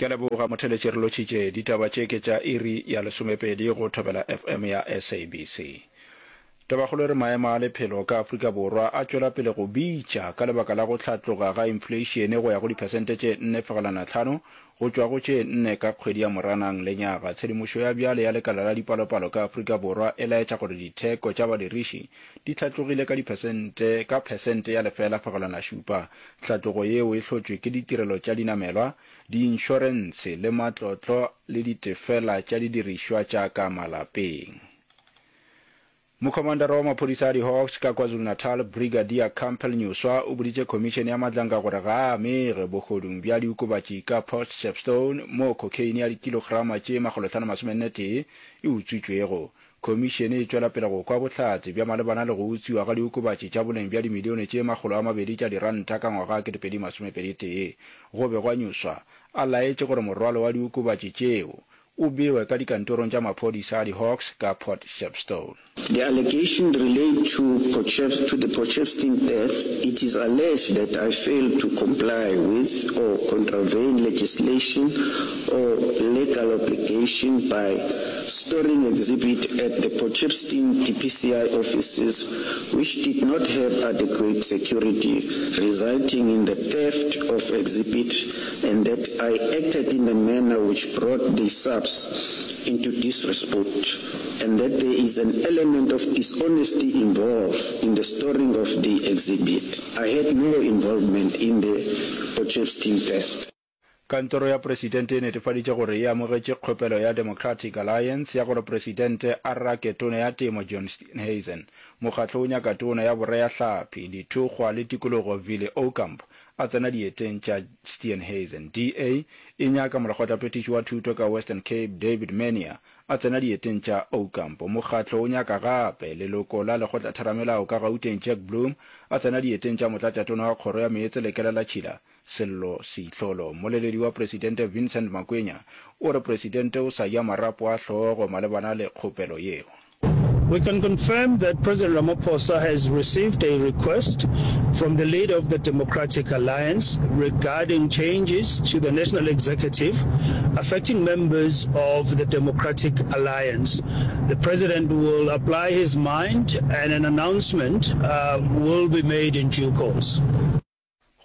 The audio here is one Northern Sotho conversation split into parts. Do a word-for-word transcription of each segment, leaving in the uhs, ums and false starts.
Ke a leboga motheletši re lotšhitše ditaba tše ke tša iri ya lesomepedi go Thobela F M ya S A B C. Tabakgolo e re maemo a lephelo ka Afrika Borwa a tšwela pele go bitša ka lebaka la go hlatloga ga infleišene go ya go diphesente tše nne fegelwana tlhano go tšwa go tše nne ka kgwedi ya Moranang lenyaga. Tshedimošo ya bjale ya lekala la dipalopalo ka Afrika Borwa e laetša gore ditheko tša badiriši di hlatlogile ka diphesente ka phesente ya lefela fegelwana šupa. Tlhatlogo yeo e hlotšwe ke ditirelo tša dinamelwa, diinšorentshe le matlotlo le ditefela tša didirišwa tša ka malapeng. Mokhomandara wa maphodisa a di-Hawks ka KwaZulu-Natal, Brigadier Campbell Nyuswa o boditše Khomišene ya Madlanga gore ga a amege bohodung bja diokobatši ka Port Shepstone moo cocaine ya dikilograma tše makgolohlano-masomenne-tee e utswitšwego. Khomišene e tšwela pele go kwa bohlatse bja malebana le go utswiwa ga diokobatši tša boleng bja dimilione tše makgolo a mabedi tša diranta ka ngwaga kete pedi masomepedi tee. Go begwa Nyuswa a laetše gore morwalo wa diokobatši tšeo o bewe ka dikantorong tša maphodisa a di-Hawks ka Port Shepstone. The allegations relate to, Potchef to the Potchefstroom theft. It is alleged that I failed to comply with or contravene legislation or legal obligation by storing exhibit at the Potchefstroom D P C I offices, which did not have adequate security, resulting in the theft of exhibit, and that I acted in a manner which brought the SAPS into disrepute, and that there is an element of dishonesty involved in the storing of the exhibit. I had no involvement in the Potchefstroom theft. Kantoro ya Presidente e netefaditše gore e amogetše kgopelo ya Democratic Alliance ya gore Presidente a rake Tona ya Temo John Steenhuisen. Mokgatlo o nyaka Tona ya Boreahlapi, Dithokgwa le Tikologo Vili Aucamp a tsena dieteng tša Steenhuisen. D A e nyaka Molekgotlaphethiši wa Thuto ka Western Cape David Maynier a tsena dieteng tša Aucamp. Mokgatlo o nyaka gape leloko la Lekgotlatheramelao ka Gauteng Jack Bloom a tsena dieteng tša Motlatšatona wa Kgoro ya Meetse le Kelelatšhila Sello Seitlholo. Mmoleledi wa Presidente Vincent Makwenya o re Presidente o sa ja marapo a hlogo malebana le kgopelo yeo. We can confirm that President Ramaphosa has received a request from the leader of the Democratic Alliance regarding changes to the national executive affecting members of the Democratic Alliance. The president will apply his mind and an announcement uh, will be made in due course.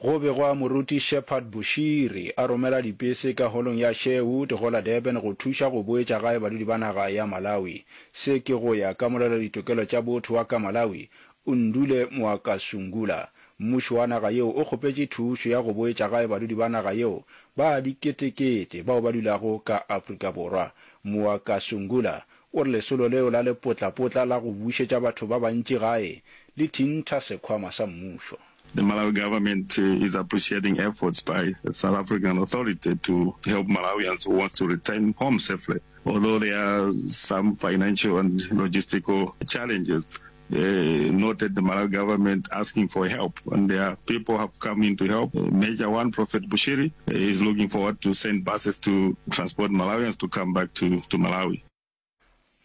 Go begwa Moruti Shepherd Bushiri a romela dipese ka holong ya Sherwood go la Durban go thuša go boetša gae badudi ba naga ya Malawi. Se ke go ya ka molwela-ditokelo tša botho wa ka Malawi, Undule Mwakasungula. Mmušo wa naga yeo o kgopetše thušo ya go boetša gae badudi ba naga yeo ba diketekete bao ba dulago ka Afrika Borwa. Mwakasungula o re lesolo leo la lepotlapotla la go bušetša batho ba bantši gae le thintha sekhwama sa mmušo. The Malawi government is appreciating efforts by the South African authority to help Malawians who want to return home safely. Although there are some financial and logistical challenges, uh, noted the Malawi government asking for help, and there are people have come in to help. Uh, Major One, Prophet Bushiri, uh, is looking forward to send buses to transport Malawians to come back to, to Malawi.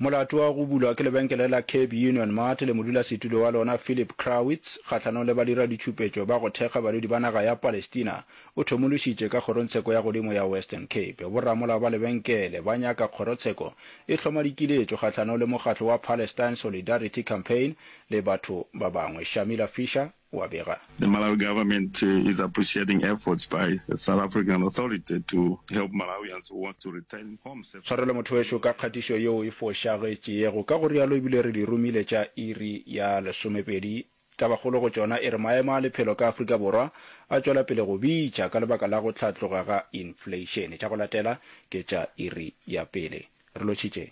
Molato wa go bulwa ke lebenkele la Cape Union Mart le modulasetulo wa lona Philip Krawitz kgahlanong le badiraditšhupetšo ba go thekga badudi ba naga ya Palestina o thomološitše ka kgorongtsheko ya godimo ya Western Cape. Boramolao ba lebenkele ba nyaka kgorotsheko e hloma dikiletšo kgahlanong le mokgatlo wa Palestine Solidarity Campaign le batho ba bangwe. Shamila Fisher wa bega. The Malawi government is appreciating efforts by the South African authority to help Malawians who want to return home safely. Tshwarelo motho wešo ka kgatišo yeo e fošagetšego. Ka go rialo ebile re di romile tša iri ya lesomepedi. Tabakgolo go tšona e re maemo a lephelo ka Afrika Borwa a tšwela pele go bitša ka lebaka la go hlatloga ga infleišene. Tša go latela ke tša iri ya pele. Re lotšhitše.